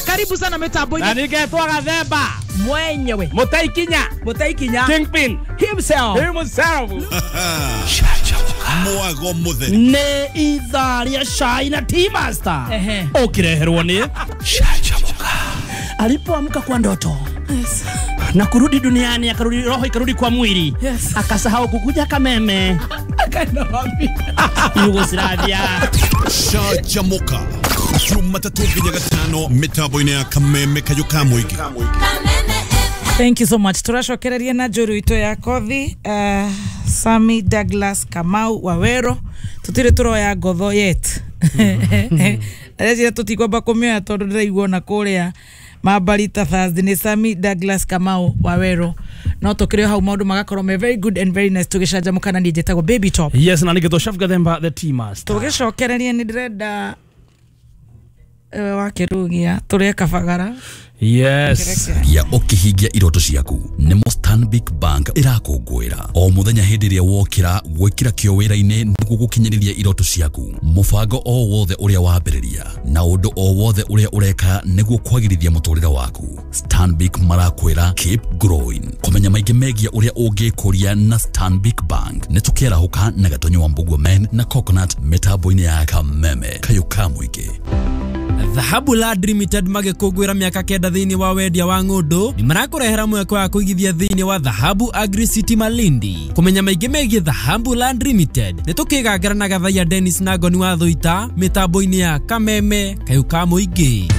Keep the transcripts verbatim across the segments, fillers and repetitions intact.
Karibu sana mitambo-inĩ. Na nĩngetwo Gathemba mwenyewe Mũtaikinya Mũtaikinya Kingpin himself himself. Mwago mutheri nĩ ithaa rĩa cai na Tea Master ũkĩreherwo nĩ Canjamũka. Alipoamka kwa ndoto, yes, na kurudi duniani, akarudi roho ikarudi kwa mwili, yes, akasahau kukuja Kameme, akaenda wapi? Yugoslavia. Canjamũka Jumatatu nginya Gatano mitambo-inĩ ya Kameme kayũ ka mũingĩ. Thank you so much. Turacokereria na njũru itũ ya kothi, uh, Sami Douglas Kamau Wawero. Tutire turoya ngotho yet. Areciria tutikwamba kũmĩoya tondũ ndĩraigua ona kũrĩa Mabarita Thursday nĩ Sami Douglas Kamau Wawero. No tũkĩrĩ hau maũndũ magakorwo me very good and very nice tũgĩcanjamũka na niĩ njĩtagwo Baby Top. Yes, na nĩngĩtwo Chef Gathemba the Tea Master. Tũgĩcokereria nĩ ndĩrenda uh, wakĩrugia tũrĩe kabagara. Yes. Ya ũkĩhingia iroto ciaku nĩ Stanbic Bank ĩrakũngũĩra o mũthenya hĩndĩ ĩrĩa wokĩra gwĩkĩra kĩo wĩra-inĩ nĩguo gũkinyanĩria iroto ciaku mũbango o wothe ũrĩa wambĩrĩria na ũndũ o wothe ũrĩa ũreka nĩguo kwagĩrithia mũtũrĩre waku. Stanbic marakwĩra keep growing. Kũmenya maingĩ megiĩ ũrĩa ũngĩkũria na Stanbic Bank nĩ tũkĩarahũka na Gatonyo wa Mbugua Men na Coconut mĩtambo-inĩ ya Kameme kayũ ka mũingĩ. Dhahabu Land Limited magĩkũngũĩra mĩaka kenda thĩinĩ wa wendia wa ng'ũndũ nĩ marakũrehera mweke wa kũigithia thĩinĩ wa Dhahabu Agri City Malindi. Kũmenya maingĩ megiĩ Dhahabu Land Limited nĩ tũkĩgangara na Gathaiya Dennis na Ngoni wa Thũita mĩtambo-inĩ ya Kameme kayũ ka mũingĩ.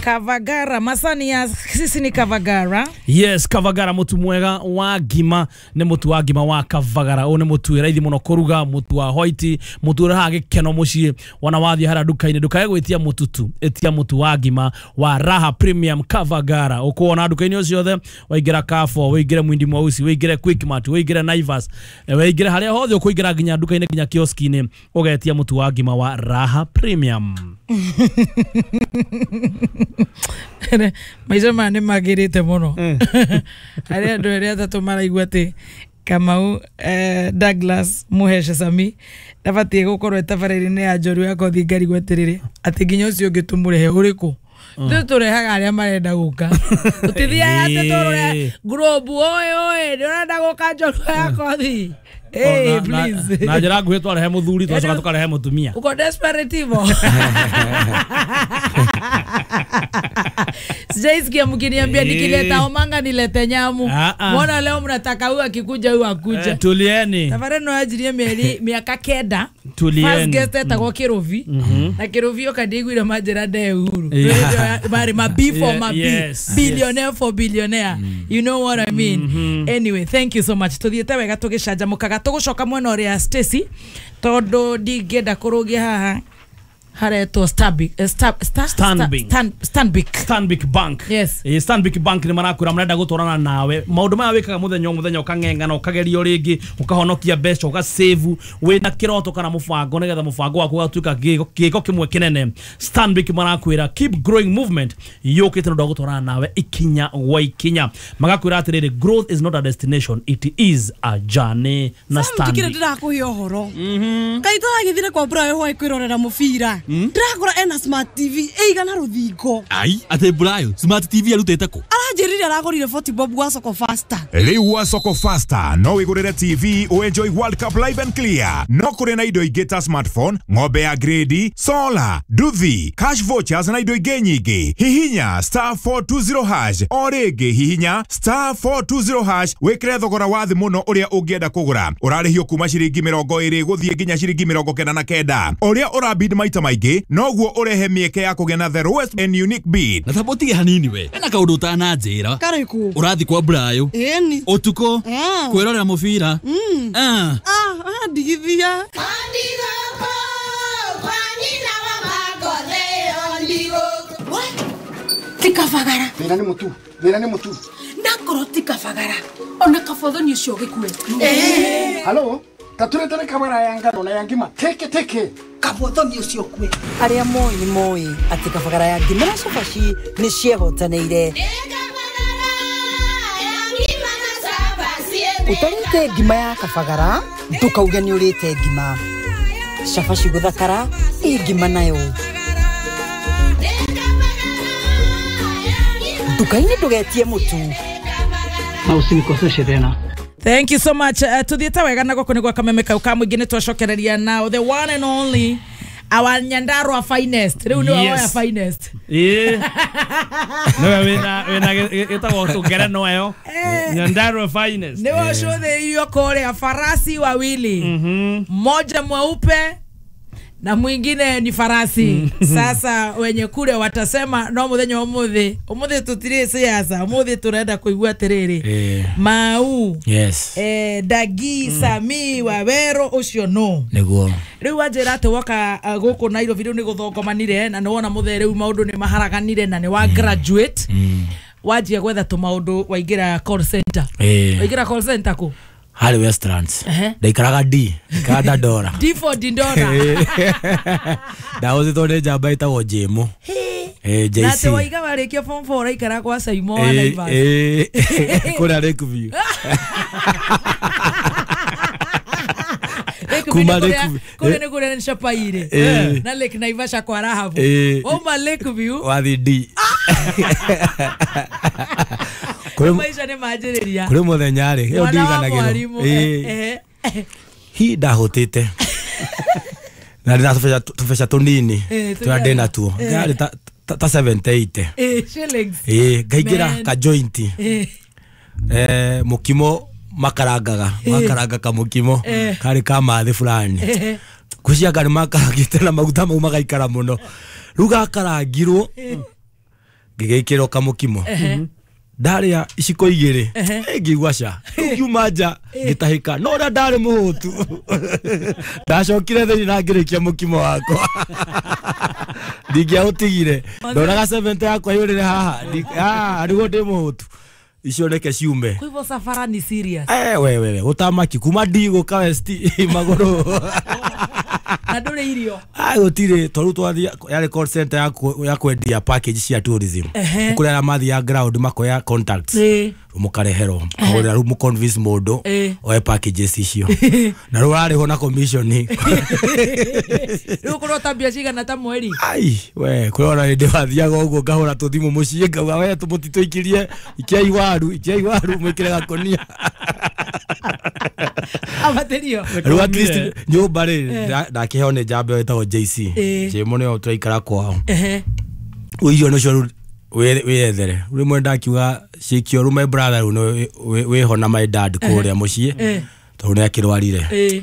Kavagara masani ya sisi ni Kavagara. Yes, Kavagara mutu mwega wa ngima ni mutu wa ngima wa Kavagara. Ũyũ nĩ mutu wĩ raithi mũno kũruga, mutu wa white, mutu ũrehaga gĩkeno mũciĩ. Wona wathiĩ harĩa nduka-inĩ ndũkae gwĩtia mutu tu, ĩtia mutu wa ngima wa Raha Premium Kavagara. Ũkuona nduka-inĩ o ciothe, waingĩra Carrefour, waingĩre Mwindi Mweusi, waingĩre Quickmart, waingĩre Naivas, waingĩre harĩa hothe ũkũingĩra nginya nduka-inĩ nginya kioski-inĩ ũgetia mutu wa ngima wa Raha Premium. Maica maya nĩ magĩrĩte mũno. Harĩ andũ erĩ atatũ maraigua atĩ Kamau eh, Douglas Muheshe Sami ndabatiĩ gũkorwo ĩtabarĩra-inĩ ya njorua ya kothi ngarigwo atĩrĩrĩ atĩ nginya ũcio ũngĩ tũmũrehe ũrĩkũ. Ithuĩ tũrehaga arĩa marenda gũka. Tũtithiaga atĩ tũrore group oe oe ndĩrenda gũka njorua ya kothi. Hey, please. Na njĩra nguhĩ twarehe mũthuri twacoka tũkarehe mũtumia. Uko desperate hivyo. Sijaisikia mkiniambia nikileta omanga nilete nyamu. Mbona leo mnataka huyu akikuja huyu akuja. Tulieni. Tafadhali no ajirie mieri miaka kenda. Tulieni. First guest etagwo Kirovi. Na Kirovi okandigwire manjira nde Uhuru. Mari ma B for ma B. Billionaire for billionaire. You know what I mean. Anyway, thank you so much. Tuthiete wega tugicanjamukaga tugucoka mwena uria Stacy tondu ndingĩenda kũrũgia haha haretwo Stanbic Stanbic Stanbic Stanbic Bank. Yes. Eh, Stanbic Bank ni marakwira marenda gutwarana nawe maundu maya wikaga muthenya o muthenya ukang'eng'ana ukagerio ringi ukahonokia mbeca ugasave wina kiroto kana mubango nigetha mubango waku ugatuika giko kimwe kinene. Stanbic marakwira keep growing movement yukite ndu gutwarana nawe ikinya gwa ikinya magakwira atiriri growth is not a destination it is a journey na Stanbic. Tikire ndirakuhe uhoro kai turagithire kwa Brayo hwaĩ kwirorera mubira ndĩrakora ena smart T V ĩigana rũthingo. Ai atĩ Brayo smart T V arutĩte kũ? Aranjĩrire aragũrire forty bob gwa Soko Faster. Rĩu gwa Soko Faster no wĩgũrĩre T V ũenjoy World Cup live and clear. No kũrĩ na indo ingĩ ta smartphone, ng'ombe ya grade, solar, nduthi, cash vouchers na indo ingĩ nyingĩ. Hihinya star four two zero hash o rĩngĩ hihinya star four two zero hash wĩkĩre thogora wa thĩ mũno ũrĩa ũngĩenda kũgũra. Ũrarĩhio kuma ciringi mĩrongo ĩrĩ gũthiĩ nginya ciringi mĩrongo kenda na kenda. Ũrĩa ũrabid maita maingĩ noguo ũrehe mĩeke ya kũgĩa na the lowest and unique bid. Na tabotige hanini we ena kaũndũ ũtananjĩra. Karĩkũ? Ũrathi kwa Brayo ĩni ũtukũ kwĩrorera mũbira. Ah ah ndigithia. Ti Kabagara. Thĩna nĩ mũtu, thĩna nĩ mũtu. Ndakorwo ti Kabagara ona kabothoni ũcio gĩkue. Halo, taturetere kabara ya ngano na ya ngima teke teke. Kabothoni ũcio kue. Arĩa moĩ nĩ moĩ atĩ Kabagara ya ngima na cabaci nĩ ciehotanĩire. Ũtarĩte ngima ya Kabagara ndũkauge nĩ ũrĩte ngima. Cabaci gũthakara ĩ ngima nayo. Nduka-inĩ ndũgetie mũtu. Na usinikoseshe tena. Thank you so much. Uh, tuthiĩte wega na gũkũ nĩ gwa Kameme kau ka mũingĩ nĩ twacokereria now the one and only our Nyandarua finest. Rĩu nĩ wa finest. Ĩĩ. Nĩwe wĩna wĩna gĩtagwo tũngereno ĩyo. Nyandarua finest. Nĩwe ũcũthĩrĩirio kũrĩa farasi wawili. Mmoja mweupe na mwingine ni farasi. Sasa wenye kule watasema no muthenya umuthi umuthi tutire siasa umuthi turenda kuigua atiriri Mau. Yes. Eh, Dagi mm. Sami Wawero ucio no niguo riu wanjira ati woka uh, guku Nairobi riu ni guthongomanire na niwona muthe riu maundu ni maharaganire na ni wa mm. graduate mm. wanjia gwetha tu maundu waingira call center eh. Waingira call center ku Harĩ Westlands. Ndaikaraga D, ndaikaraga Dandora. D for Dandora. Ndahũthĩtwo nĩ njamba ĩtagwo Jĩmũ. Eh, J C. Na atĩ waiga warĩkia form four ũraikara kwa Saimo wa Naivas. Eh, kũrĩa Lakeview. Kuma Lakeview. Kũrĩa nĩ kũrĩa nĩ Chapaire. Na Lake Naivasha kwa Rahabu. Wauma Lakeview. Wathiĩ D. Maisha nĩ manjĩrĩria. Kũrĩ mũthenya rĩ, ĩyo ndiganagĩrwo. Hi ndahũtĩte. Na ndĩna tũbeca tũbeca tũnini tũrĩa ndĩnatuo. Yarĩ ta ta seventy eight. Eh, shillings. Eh, ngaingĩra ka joint. Eh, mũkimo makarangaga, makaranga kamũkimo karĩ ka mathĩ fulani. Kwĩciria nĩ makarangĩte na maguta mau magaikara mũno. Rĩu gakarangirwo ngĩgĩkĩrwo kamũkimo. Ndaria iciko igĩrĩ ngĩigua ca ngiuma nja ngĩtahĩka no ũrĩa ndarĩ mũhũtu ndacokire thĩinĩ na ngĩrĩkia mũkimo wakwa ndingĩaũtigire ndoraga seventy yakwa yũrĩre haha ah nĩguo ndĩ mũhũtu icio reke ciume. Kwa hivyo safara ni serious. Eh, we we we utamaki kuma ndigũka West magũrũ na ndũrĩ irio. Ah gũtirĩ tondũ twathi yarĩ call center ya ya kwendia package cia tourism kũrĩa arĩa mathiaga ground makoya contacts mũkareherwo kũrĩa rĩu mũconvince mũndũ oe packages icio na rĩu ũrarĩhwo na commission. Rĩu ũkorwo ta mbia cigana ta mweri. Ai we kũrĩa ona hĩndĩ wathiaga ũguo ngahũra tũthimũ mũciĩ ngauga we mũtitũikirie ikiai waru ikiai waru mwĩkĩre gakonia abatĩrio. Rĩu at least nyũmba rĩ ndakĩheo nĩ njamba ĩyo ĩtagwo J C. Jĩmũ nĩyo tũraikara kwao. Ũirio nĩcio rĩu wĩyethere. Rĩmwe ndakiuga cikio rĩu my brother rĩu wĩho na my dad kũrĩa mũciĩ tondũ nĩ akĩrwarire.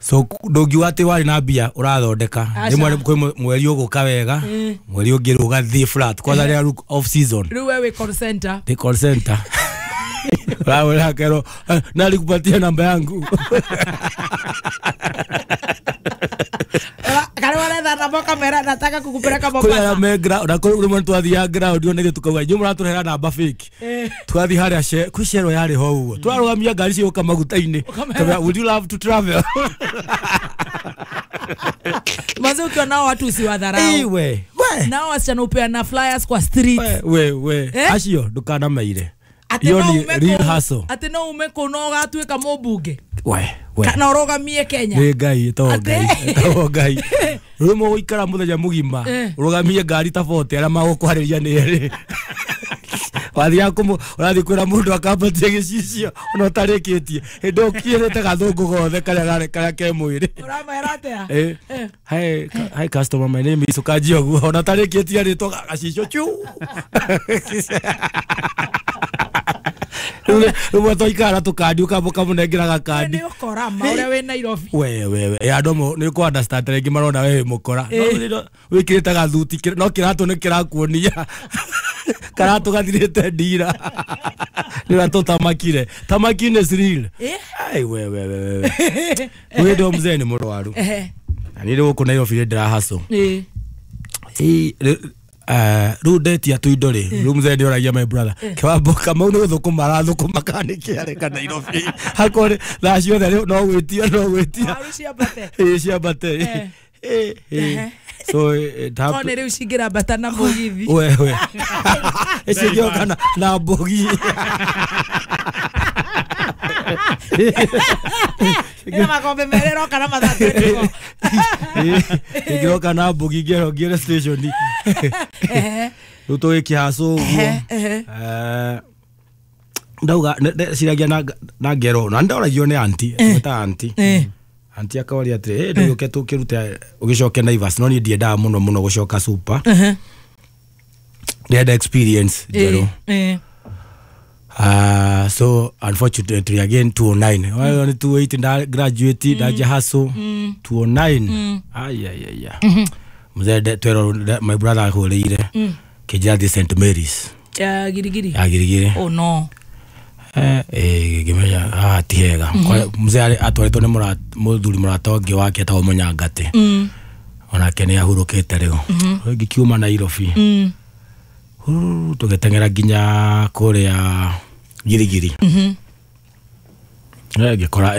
So ndũngiuga atĩ warĩ na mbia ũrathondeka rĩmwe kwĩ mweri ũgũka wega mweri ũngĩ rĩu ũgathiĩ flat kwanza rĩrĩa rĩu off season. Rĩu we wĩ call center. Ndĩ call center. Wawela kero nalikupatia namba yangu. Kare waretha namba kamera nataka kukupeleka Mombasa. Kuri me ground na kuri muntu twathiaga ground onege tukauga inyuĩ mũratũrehera namba fake. Twathiĩ harĩa she kwĩ cero yarĩ ho ũguo. Twarũgamia ngari cigũka maguta-inĩ. Would you love to travel? Manze ukiona watu usiwadharau. Iwe. We. Nao wasichana upeana flyers kwa street. We we. Acio ndũkanameire. Iyo ni real hustle. Ati no ume kũ no ũgatuĩka mũmbunge. We we. Kana ũrũgamie Kenya. Nĩ Ngai ĩtagwo Ngai. Ĩtagwo Ngai. Rĩu mũgũikara mũthenya mũgima ũrũgamie ngari ta forty arĩa magũkwarĩria nĩ erĩ. Wathiaga kũmũ ũrathiĩ kwĩra mũndũ akambatie gĩcicio ona ũtarĩkĩtie hĩndĩ ĩyo ũkiĩrĩte gathũngũ gothe karĩa karĩa ke mwĩrĩ. Ũramera atĩa? Eh. Hi hi customer, my name is ũkanjia ũguo ona ũtarĩkĩtie rĩtwa gacicio chu. Rĩu twaikara tũkandi ũkamba ũkamũnengera gakandi. Nĩ ũkora ma ũrĩa wĩ Nairobi. We we we andũ nĩ kũ understand rĩngĩ marona we wĩ mũkora. No wĩkĩrĩte gathuti no kĩratũ nĩ kĩrakuonia. Karatũ gathirĩte ndira. Nĩ ũrĩa tũtamakire. Tamaki nĩ real. Ai we we we we. Wĩ ndo mzee nĩ mũrwaru. Na niĩ gũkũ Nairobi ndĩra hustle. Rĩu ndetia tũindo rĩ rĩu mzee nĩoragia my brother kĩwambo Kamau nĩ gũthũkũma arathũkũma kana nĩ kĩareka Nairobi hakore thaa ciothe rĩu no gwĩtia no gwĩtia waru ciambate ĩĩ ciambate ĩĩ so it happened nĩ rĩu cingĩrambata na mũgithi we we icingĩoka na na mbogi ĩna makombe merĩ ĩroka na mathaa twenty-four ĩngĩroka na mbogi ngĩro ngĩre station. Rĩu tũgĩkĩhacũ ũguo. Ehe, ehe. Eh, ndauga ndeciragia na na ngero na ndoragio nĩ anti ta anti Eh. anti akaoria atĩrĩ, "Eh, ndũgĩũke tũkĩrute ũgĩcoke Naivas." No niĩ ndiendaga mũno mũno gũcoka super, Ehe. ndĩrenda experience njerũ. Eh, eh. Uh, so unfortunately again two oh nine, well, ni two oh eight nda graduate, ndaja hustle two oh nine. Ai ai ai ai, mzee, de- twero de- my brother ahũrĩire kĩnjĩra thiĩ Saint Mary's Ya Girigiri? Ya Girigiri. Oh no. Eh, eh, ngĩmenya haha ti hega. Kwa- mzee arĩ- atwarĩtwo nĩ mũra- mũthuri mũrata ũngĩ wake etagwo Mũnyangatĩ, Mm. onake nĩ ahurũkĩte rĩu. Ngĩkiuma Nairobi, Mm. huu, tũgĩteng'era nginya kũrĩa Girigiri. Mhm. Eh, ngĩkora